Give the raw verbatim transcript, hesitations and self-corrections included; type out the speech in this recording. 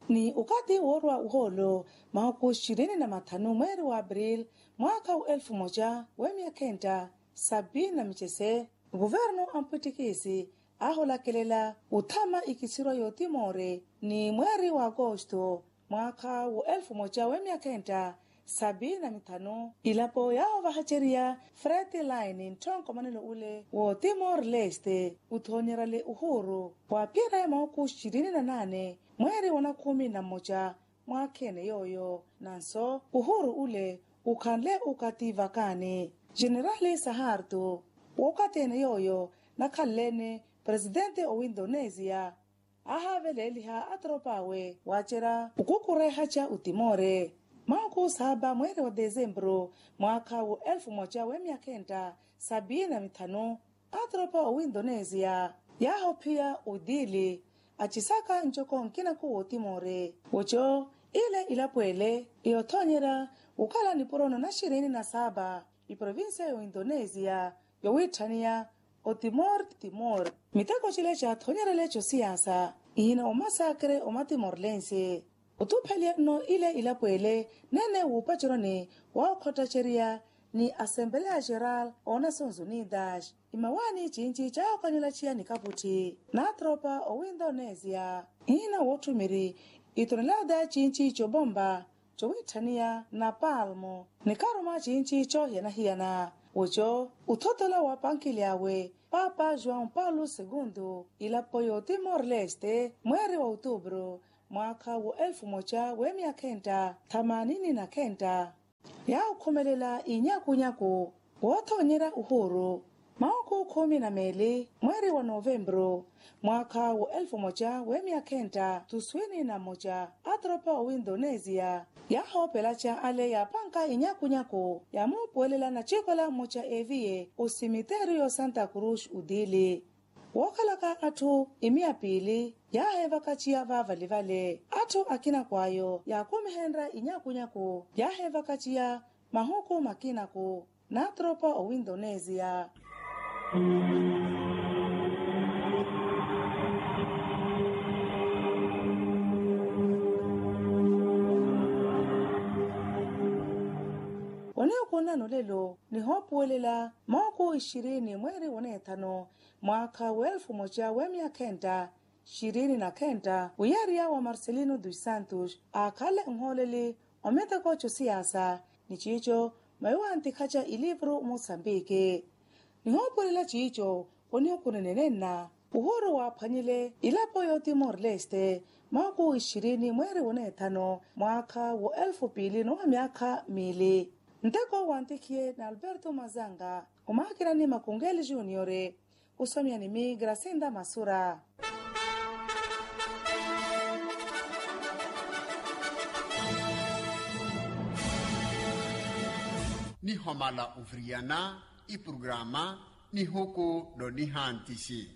Ni okathi woorwa ohoolo mahuku xirini na mathanu mweeri wa april mwaakha wa elfu moja w'emyakha enta sabiini na micese, kuvernu ampwittikisi aahulakelela othama ikisirwa y'otimoore ni mweeri wa akosto mwaakha wa elfu moja w'emyakha enta sabiini na mithanu. Ilapo yaahovahacerya frete line ntthonko manelo ule w'otimor leste othoonyerale ohuuru waaphiyerya mahuku xirini na naane mweeri wa nakhumi na mmoja mwaakha ene yooyo nanso ohuuru ule okhanle okathi vakaani. Generali saharto w'okathi ene yooyo nakhanle-ene presidente owa indonesia aahaaveleeliha atropa awe waacerya okukurehaca otimore. Mahuku saaba mweeri wa desempuru mwaakha wa elfu moja w'emyakha enta sabiini na mithanu atropa owa indonesia yaahophiya odili acisaka ncoko nkinaku w'otimore. Oco ile ilapo ele eyothoonyerya okhala nipuro na naxirini na saaba iprovincia y'oindonesia yowiitthaniya otimor timor. Miteko cile caathoonyerele cosiyaasa ihina omasakre omatimorlense otupheliya nno ile ilapo ele nene wuupaceroni wookhottecerya ni asempeleya geral oonasons unidas imawaani cinci caahokanyela ciya ni kaputthi n'atropa owa indonesia ihina wootthumiiri itonelada cinci cobomba cowiitthaniya na palmo ni karuma cinci coohiyana-hiyana. Oco othotola wa pankili awe papa joão paulo segundo ilapo y'otimor leste mweeri wa otubro mwaakha wa elfu moja w'emyakha enta thamanini na khenta yaahukhumelela inyakunyaku woothoonyerya ohuuru mahuku khumi na meeli mweeri wa novempuru mwaakha wa elfu moja w'emyakha enta tuswini na mmoja atropa owa indonesia yaahoopelaca ale yaapanka inyakunyaku yaamuupuwelela nacikola mmoja eviye osimiteriyo santa cruz otili wookhalaka atthu imiya piili yaaheevakaciya vaavali vale atthu akinaku ayo yaakumihenrya inyakunyaku yaaheevakaciya mahuku makinaku n'atropa owa indonesia. Onihukunna nolelo nihoopuwelela mahuku ixirini mweeri woneethano mwaakha wa elfu moja w'emyakha enta xirini na khenta wiyariya wa marcelino dos santos aakhale nhooleli omiteko cosiyaasa ni ciico maiwantikhaca ilivuru musambiki nihoopulela ciico onihukuni nenenna uhuru waaphwanyile ilapo y'otimor leste mahuku ixirini mweeri woneethano mwaakha wa elfu piili n'owa myaakha miili nteko wantikhiye n'alberto mazanga omaakirani makungeli juniore osomya ni mi grasinda masura. Nihomala oviriyana ipurugaraama nihuku n'onihantisi.